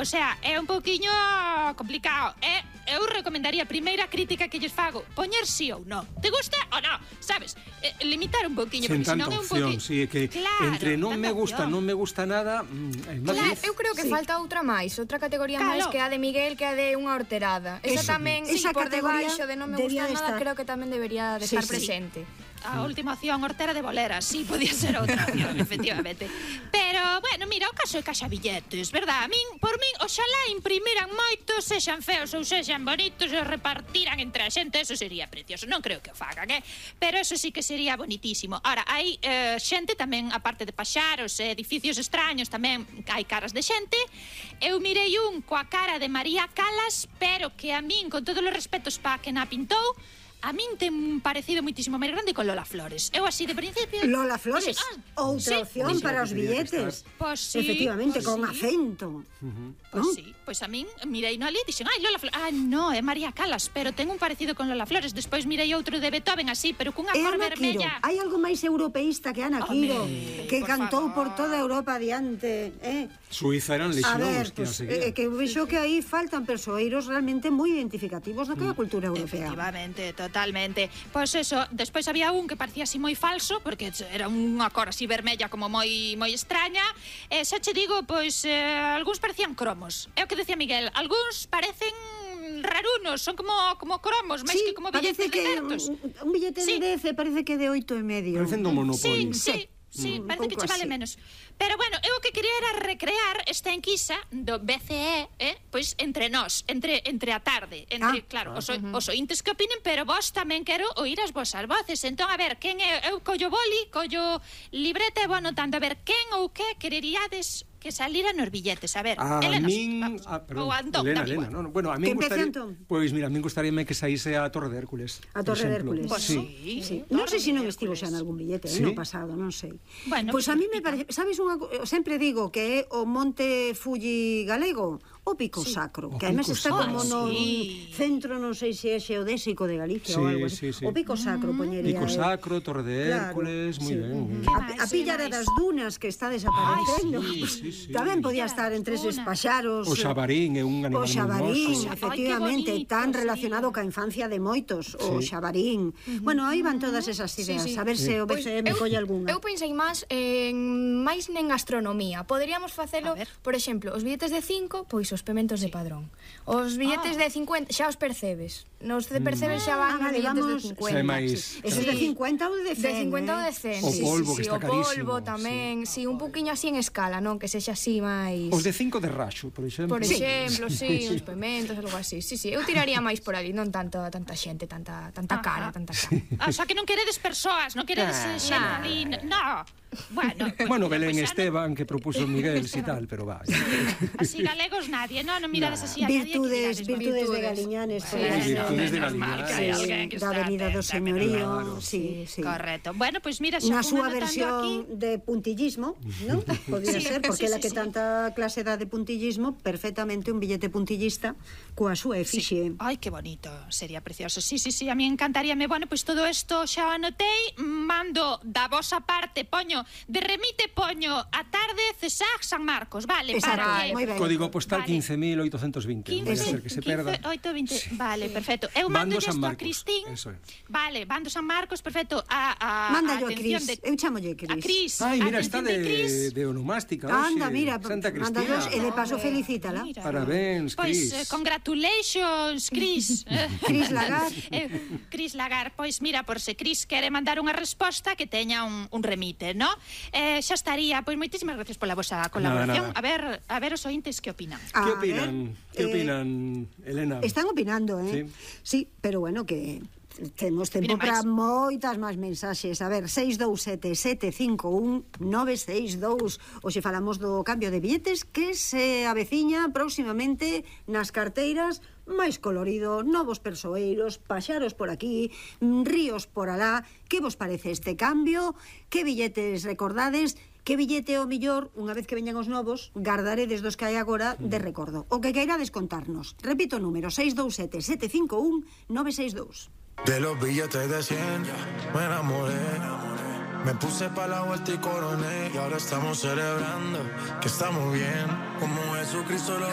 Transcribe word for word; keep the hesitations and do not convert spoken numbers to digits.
o sea, é un pouquiño complicado. E eu recomendaría a primeira crítica que lles fago, poñer sí ou non. Te gusta ou non? Sabes? Eh, limitar un pouquiño, Sen porque senón tanta é un opción, pouquiño... si, é que claro, entre non me tanta gusta, opción. non me gusta nada, é máis Claro, difícil. eu creo que Sí. falta outra máis, outra categoría Claro. máis que a de Miguel, que a de unha horterada. Esa Eso. tamén, Esa por categoría debaixo de non me debía gusta de nada, estar. creo que tamén debería de Sí, estar sí. presente. A última opción, hortera de boleras, sí, podía ser outra opción, efectivamente. Pero, bueno, mira, o caso é caixa billetes, verdad? A min, por min, oxalá imprimiran moitos, sexan feos ou sexan bonitos, e repartiran entre a xente, eso sería precioso. Non creo que o fagan, eh? Pero eso sí que sería bonitísimo. Ahora, hai eh, xente tamén, aparte de paxaros e edificios extraños, tamén hai caras de xente. Eu mirei un coa cara de María Calas, pero que a min, con todos os respetos pa que na pintou, a min ten parecido moitísimo máis grande con Lola Flores. Eu así de principio... Lola Flores, dixen, ah, outra sí, opción dixen para que os tenía que billetes. estar. Pois sí, Efectivamente, pois con sí. acento. Pois ¿no? sí, pois a min mirei no ali e dixen, ai, Lola Flores, ah, no, é María Calas, pero ten un parecido con Lola Flores. Despois mirei outro de Beethoven así, pero cunha É cor Ana Quiro. vermella. Hai algo máis europeísta que Ana Home, Quiro, que por cantou favor. por toda Europa adiante, eh? Suiza eran A lexións ver, que a pues, seguían. eh, que vexo que aí faltan persoeiros realmente moi identificativos daquela cultura europea. Efectivamente, totalmente. Pois eso, despois había un que parecía así moi falso, porque era unha cor así vermella como moi moi extraña. E xa che digo, pois eh, algúns parecían cromos. É o que decía Miguel, algúns parecen rarunos, son como como cromos, máis Sí, que como parece billetes que de certos. un, un billete Sí. de dez parece que de oito e medio. Parecen do Monopoly. Sí, sí. Sí, Mm, parece que pouco che vale así. menos. Pero bueno, eu o que quería era recrear esta enquisa do B C E, eh, pois entre nós, entre entre a tarde, entre, Ah, claro, os, o- os ointes que opinen, pero vos tamén quero oír as vosas voces. Entón, a ver, quen é, eu collo boli, collo libreta e vou anotando, a ver, quen ou que quereríades que salira nos billetes, a ver, A Elena, min, vamos, a, perdón, ou Antón, Elena, dame Elena, igual. no, no, bueno, a min Que empece gustaría, Antón. pois mira, a min gustaríame que saíse a Torre de Hércules. A por Torre de exemplo. Hércules. Pois Sí. sí, Sí. Torre Non sei se de non estivo xa Hércules. en algún billete, Sí. no pasado, non sei. Bueno, Pois a mí me pica. parece, sabes unha, co- eu sempre digo que é o Monte Fuji galego, o Pico Sacro, O que además Pico está Sacro. como Ah, no sí. centro, non sei se é xeodésico de Galicia Sí, ou algo así. sí, sí. O Pico Sacro poñería. Pico eu. Sacro, Torre de Claro, Hércules, moi sí. ben. A, a Pillara das Dunas, que está desaparecendo. Ay, sí, sí, sí. Tamén podía Pillara estar das entre eses Dunas. paxaros. O xabarín é un animal O xabarín, moi hermoso. efectivamente, Ai, que bonito, tan sí. relacionado ca infancia de moitos. O Sí. xabarín. Bueno, aí van todas esas ideas. Sí, sí. A ver se o B Pois C E me eu- colle algunha. Eu pensei máis en máis nen gastronomía. Poderíamos facelo, A ver. por exemplo, os billetes de cinco, pois os pementos de Padrón. Os billetes Ah. de cincuenta xa os percebes. Nos de percebes xa van Ah, os vale, billetes vamos- de Xa é cincuenta. máis- Esos de Sí. cincuenta ou de De cen, cincuenta eh? ou de cen. O sí, polvo, sí, que sí, está o polvo carísimo, tamén, sí, un poquinho así en escala, non? Que sexa así máis... Os de cinco de raxo, por exemplo. Por Sí. exemplo, sí, uns pementos, algo así. Sí, sí, eu tiraría máis por ali, non tanto tanta xente, tanta tanta cara, Ajá. tanta cara. Ah, xa que non queredes persoas, non queredes eh, xente Nah. ali, no. Bueno, pues, Bueno, mira, Belén pues, xa non- Esteban, que propuso Miguel, si tal, pero va. Así galegos nadie, no, non mirades así a nadie. que Virtudes, mirades, virtudes de Virtudes. Galiñanes. Sí, podría ser. Virtudes de menos mal Galiñanes. que hai Sí, alguén que da está Avenida do atenta, Señorío, claro. sí, sí. Correcto. Bueno, pois pues mira, xa Na fun súa anotando versión aquí. de puntillismo, ¿no? Podría Sí, ser, porque sí, la sí, que sí. tanta clase dá de puntillismo, perfectamente un billete puntillista coa súa efixe. Ai, que bonito, sería precioso. Sí, sí, sí, a mí encantaríame. Bueno, pois pues todo isto xa o anotei, mando da vosa parte, poño, de remite poño a tarde Cesar San Marcos, vale, Exacto, para que... moi ben. Código postal Vale. quince mil oitocentos vinte. Non vai a ser que se perda. quince, oito, vinte, vale, perfecto. Eu Bando mando San isto a Marcos, Cristín. eso é. Vale, Bando San Marcos, perfecto. A, a, Manda a yo a atención Cris, de- eu chamolle Cris. A Cris. Ai, a mira, está atención de, Cris. de onomástica. Anda, hoxe. mira, Santa manda Cristina. dos, e de paso felicítala. Mira. Parabéns, Pois, Cris. eh, congratulations, Cris. Cris Lagar. eh, Cris Lagar, pois mira, por se Cris quere mandar unha resposta que teña un, un remite, ¿no? Eh, xa estaría, pois moitísimas gracias pola vosa colaboración. nada. A ver, a ver os ointes que opinan. Que A opinan? ver, Que eh, opinan, Elena? Están opinando, eh? Sí. Sí, pero bueno, que temos tempo Opinen para máis. moitas máis mensaxes. A ver, seis dous sete sete cinco un nove seis dous. Hoxe falamos do cambio de billetes que se aveciña próximamente nas carteiras, máis colorido, novos persoeiros, paxaros por aquí, ríos por alá. Que vos parece este cambio? Que billetes recordades? Que billete o millor, unha vez que veñan os novos, gardaredes dos que hai agora de recordo? O que queirades contarnos. Repito o número, seis dous sete sete cinco un nove seis dous. De los billetes de cien me enamoré. Me puse pa' la vuelta y coroné. Y ahora estamos celebrando que estamos bien. Como Jesucristo lo